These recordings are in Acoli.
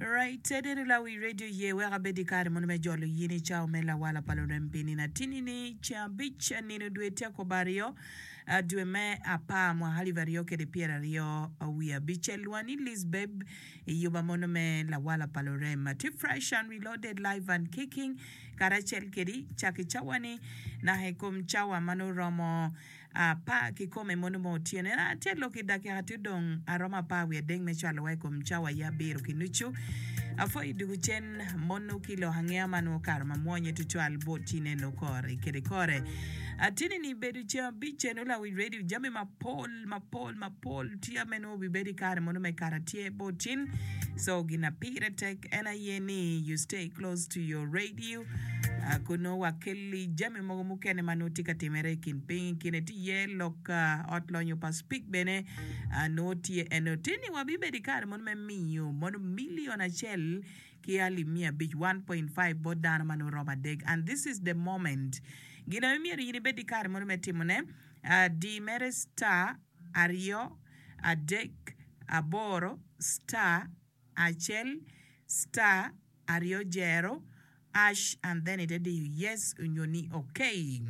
Right, Tedero Lawi Radio ye wek abed i kare mono me jolo yin i cawa me lawala pa lurem pi nino atini-ni, ceng abic, nino dwe tyakobo aryo, dwe me apar mwaka alip aryo kede pyeraryo wiye abicel. Lwani Liz Babe i yuba mono me lawala pa lurem. Tye fresh and reloaded live and kicking karacel kedi cak i cawa ni naka i kom cawa ma nongo romo Apar kikome mono mo otyeno. En atye lok i dakika tye odong aromo apar wiye adek me cwalo wa i kom cawa aye abiro ki nucu. Apwoyo dugu cen mono ki lok angeya ma nongo okato ma mwonye tutwal bot ci neno kore kede kore. Atini ni bedo ceng abic eno lawic radio jami mapol mapol mapol tye ame nongo obibedo i kare mono me kato atye bot cin so gina pire tek en aye ni you stay close to your radio. Kun nongo wakelli jami mogo mukene ma nongo tye ka timere i kin piny. I kine tye iye lok ot lonyo pa Speke bene nongo tye eno. Tye ni wabibedo i kare mono me miyo mono milion acel ki alip miya abic, 1.5, bot dano ma nongo romo adek. And this is the moment. Gin aye myero in ibed i kare mono me timone, di mere star aryo adek aboro star acel star aryo jero ash and then ite diyo yes onyo ni ok.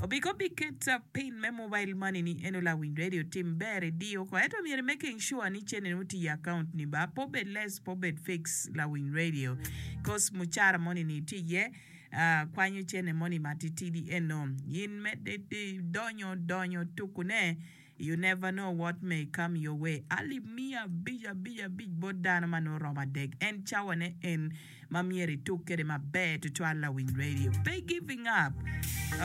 Obiko biket pin me mobile money ni eno lawiny radio tim ber idiyo ko ento myero i making sure ni cene ni otiyo i account ni ba pe obed less pe obed fix lawiny radio cos mucara moni ni tye iye kwanyo cene moni matitidi eno in medde donyo donyo tuku ne You never know what may come your way Alip miya abic abic abic bot dano ma nongo romo adek en cawa ne en ma myero ituk kede maber tutwal lawiny radio pe giving up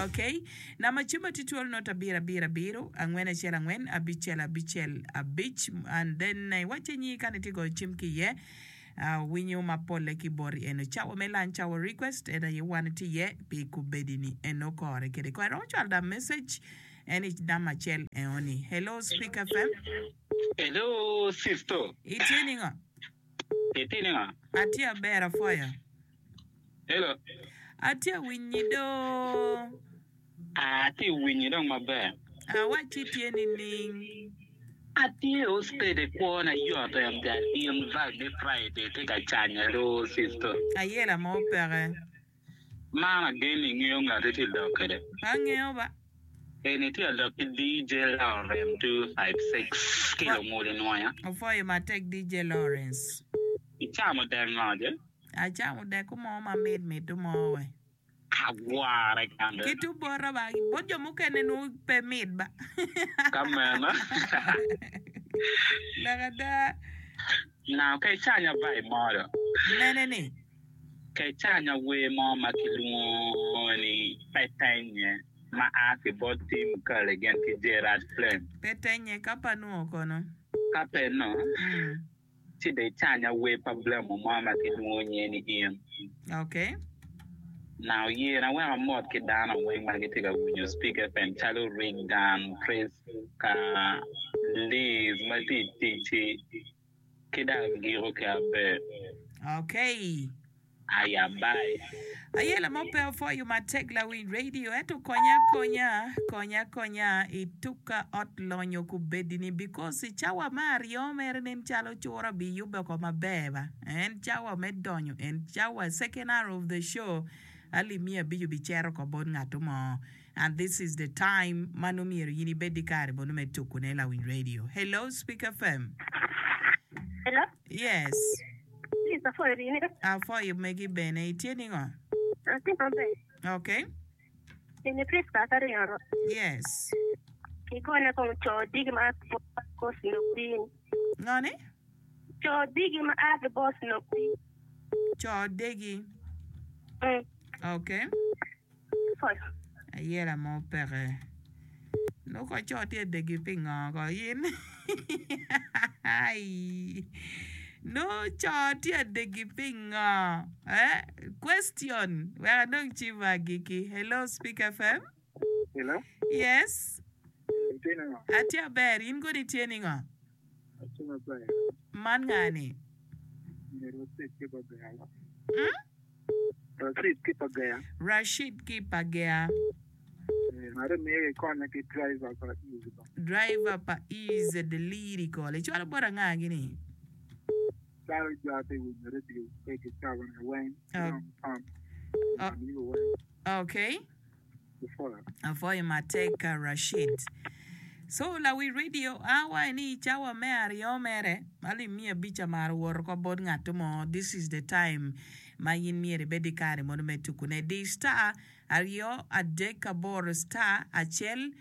ok namba cim tye twolo not abiro abiro abiro angwen acel angwen abicel abicel abic and then iwacce nyingi kani itye goyo cim ki iye winyo ma pole ki boti eno cawa me lunch hour request en aye wan itye iye pi kubedi ni eno kore kede kore iromo cwalo da message En i namba acel eno ni. Hello Speak FM. Hello sister. Itye ningo? Itye ningo? Atye aber apwoyo. Hello. Atye awinyi do. Atye winyi dong maber. Awacci itye nining? Atye o steady kwona yot en ga in vibe me Friday tye ka canya do sister. Ayela mo peke. Man agen ni ingeyo ngat itye lok kwede. Pe angeyo ba. Eni itye ka lok ki DJ Lawrence 256 ki Lungulu Nwoya. Opwoyo matek DJ Lawrence. Icamo dek ngo je? Acamo dek mo ma mit mit mo we. Agware kande. Ki tung bota ba, bot jo mukene nongo pe mit ba. Ka meno. Lok ada. Now ka icanya vibe mo do. Mene ni? Kecanya wer mo ma kilwongo ni Pe Tennye ma a ki bot Tim Curley gin ki Gerard Flame. Pe Tennye, ka pe anwongo kono? Ka pe no, ci dong icanya wer pa Blamo mo ma kilwongo nyinge ni In. Okay. Now yena wek amot ki dano weng ma gitye ka winyo Speak FM calo Regan, Prisca, Liz ma tye i tic-ci. Ki dok agiko ki aber. Okay. Aya bye. Ayela mo pe opwoyo matek lawiny radio ento konya akonya konya akonya i tuka ot lonyo kubedi ni because i cawa me aryo mere nen calo cura bi yube oko maber ba en cawa me donyo en cawa second hour of the show alip miya abic obi cito oko bot ngatu mo And this is the time ma nongo myero in ibed ki kare mono me tuku ne lawiny radio. Hello Speak FM. Hello. Yes. Please, apwoyo rini. Apwoyo megi bene. Itye ningo? Atye maber. Okay. Eni Prisca Akariro. Yes. Igone kong co digi ma bos nokdini. Ngo ni? Co digi ma a ki bos nokdini. Co degi. Mm. Okay. Ayela mo peke. Nongo ko co tye adegi pingo ko in? Nongo co tye adegi pingo? Eh? Question. Wek anong cim agiki. Hello Speak FM. Hello. Yes. Itye ningo? Atye aber. In kodi itye ningo? Atye maber. Man nga ni? Myero wacit ki pa Gea. Hmm? Rashid ki pa Gea. Rashid ki pa Gea. Ngat emiyo gikonya ki driver pa Easy ba. Driver pa Easy the lyrical. Icwalo bot anga gini? Calo jo atye winyo radio ki cawa ni weng ki dong Tom amigo weng. Okay. Apwoyo matek Rashid. So lawi radio a waco ni cawa me aryo mere alip miya abic amaro woto oko bot ngat mo this is the time ma in myero ibed ki kare mono me tukune di star aryo adek aboro star acel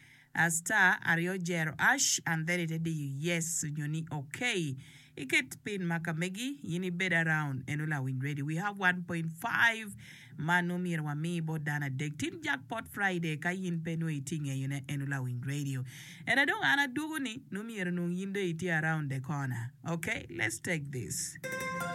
star aryo jero ash and then ite diyo yes onyo ni ok iket pin ma ka megi in ibed around eno lawiny radio we have 1.5 ma nongo myero wami bot dano adek tin jackpot Friday ka in pe nongo itye ngeyo ne eno lawiny radio ena dong an adwogo ni nongo myero nong in dong itye around the corner ok let's take this.